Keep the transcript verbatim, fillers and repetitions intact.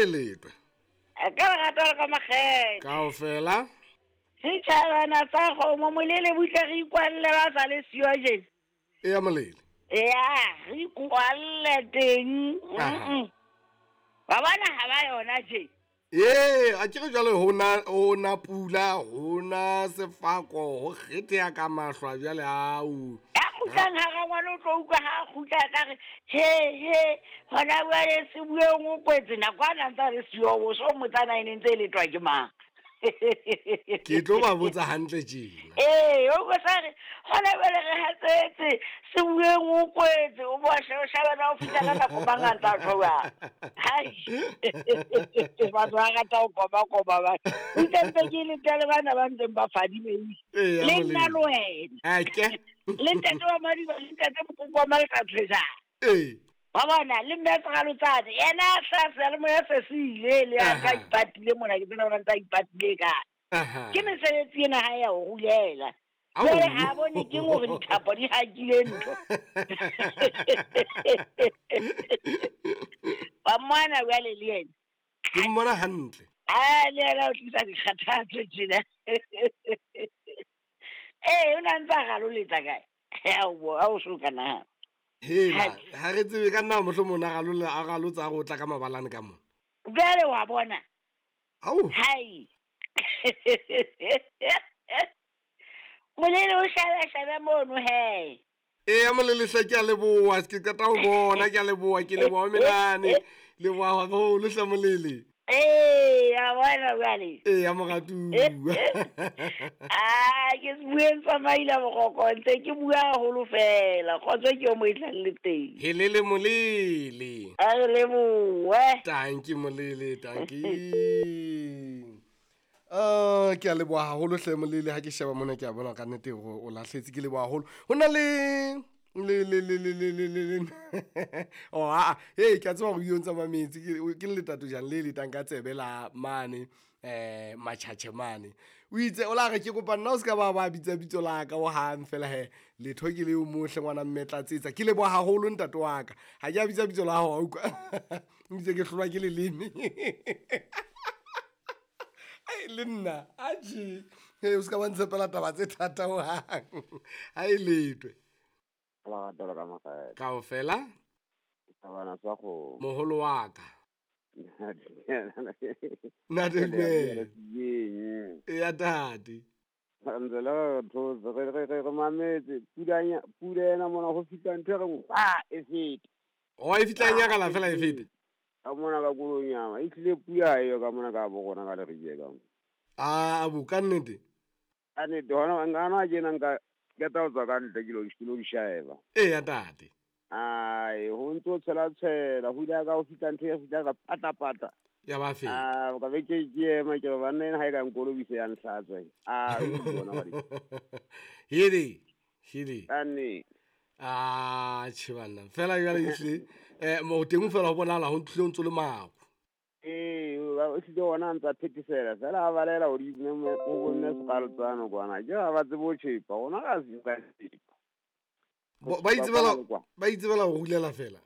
A e letwe. Ka lerato le ka makgethe. Kaofela. Setjhabana sa kgomo molele butle re ikwalle ba sa le siyo jena. Eya molele. Eya, re ikwalle teng. Aha. Ba bona ha ba yona je. Ee, a ke re jwale ho na ho na pula, ho na sefako, ho kgetheha ka mahlwa jwale au. Ya kgutlang ha rangwane o tlo utlwa ha a kgutla a tla re, he he, hona jwale se bueng o kwetse nako a na ntse a le siyo, o so mmotsa na e ne ntse e letwa ke mang. Ke tlo ba botsa hantle tjena. Ee, o ko sa re, hona jwale re hatsetse, se bueng o kwetse, o bo she-, o shebe na o fihla ka nako mang a ntse a tjho jwang. Hai. Batho ba rata ho koba-koba ba. Ntse ntse ke letele bana ba ntseng ba fadimehile. Ee, ya Le nna molemo. le wena. A ke. Le ntate wa Madiba, le ntate Mokoko wa Malekatshwejana. Ee. Wa bona, le mme Sekgalotsane, yena a hlaha seyalemoya se se ile, le a Aha. tla ipatile mona, ke tsena hore ntse a ipatile kae. Aha. Ke mesebetsi ena ha ya ho rulela. Au. Jwale ha bone ke hore dithapo di hakile ntho. Wa mmona jwale le yena. Ke mmona hantle. Ah, le yena o tlisa dikgathatso tjena. Ee, o na ntse a raloletsa kae? Aowa, ha o so ka nahana. Hela, ha re tsebe ka nna mohlomong a ralola, a ralotsa a re o tla ka mabalane ka mona. Jwale wa bona. Au. Hai. Molele o shebe, shebe mono he. Eya, molele hle, ke a leboha, ke qeta ho bona, ke a leboha, ke leboha menane. Leboha haholo hle molele. Ee, a bona jwale. Eya, moratuwa. Ah, ke se bueng sa maila boroko, ntse ke bua haholo fela. Kgotso ke yo mo e tlang le teng. Helele molele. A re lebohe. Tanki molele, tanki. Ah, ke a leboha haholo hle molele, ha ke sheba mona ke a bona ka nnete hore o lahletse, ke leboha haholo. Ho na le le le le le le le le le. Oh, ah, hey, ke a tseba hore o ntsa mametse, ke, ke letato jang le letang ka tsebe la mane, eh, matjhatjhe mane. O itse o la re ke kopa nna o ska ba ba bitsa bitso la ka o hang fela he. Letho ke leo mohle ngwana mme tlatsetsa. Ke leboha haholo ntate wa ka. Ha ke a bitsa bitso la hao, wa utlwa. O itse ke hlolwa ke leleme. Ai, le nna, atjhe. Hey, o ska ba ntshepela taba tse thata ho hang. Ha e letwe. Lerato la ka makgethe. Kaofela? Thabana sa kgomo. Moholo wa ka. Ntate Dumela. Eya, tate. Ntse le re thotse, re, re, re, re mametse. Pula pula ena mona ho fihla ntho e reng, hwa, e fete. Oh, e fihla e nyakala fela e fete. Ka mona ka Kolonyama, e tlile pula eo ka mona ka bo rona ka Leribe ka mona. Ah, abu, ka nnete? Ka nnete, hona ngana tjena nka ke tla tswa ka ntle ke lo, ke lo di sheba. Eya, tate. Ai, ho ntso tshela tshela, ho ile ka ho fihla ntho ya fihla ka pata pata. Ya ba feta. Ah, ka be ke ke ema ke re banna ena ha e ka nkolobisa ya nhlatswa. Ah, o bona ba di. Hede, hede. Ka nnete. Ah, tjhe banna. Fela jwale ehlile, eh, mo teng fela ho bonahala ho tlile ho ntso le mako. Ee, o tlile ona a ntsa phethesela, fela a balela hodimo mme o bonne sekgalotsano kwana. Ke ha ba tsebe ho tjhepa, ona ga se ka tjhepa. Bo, ba itsebela, ba itsebela ho rulela fela.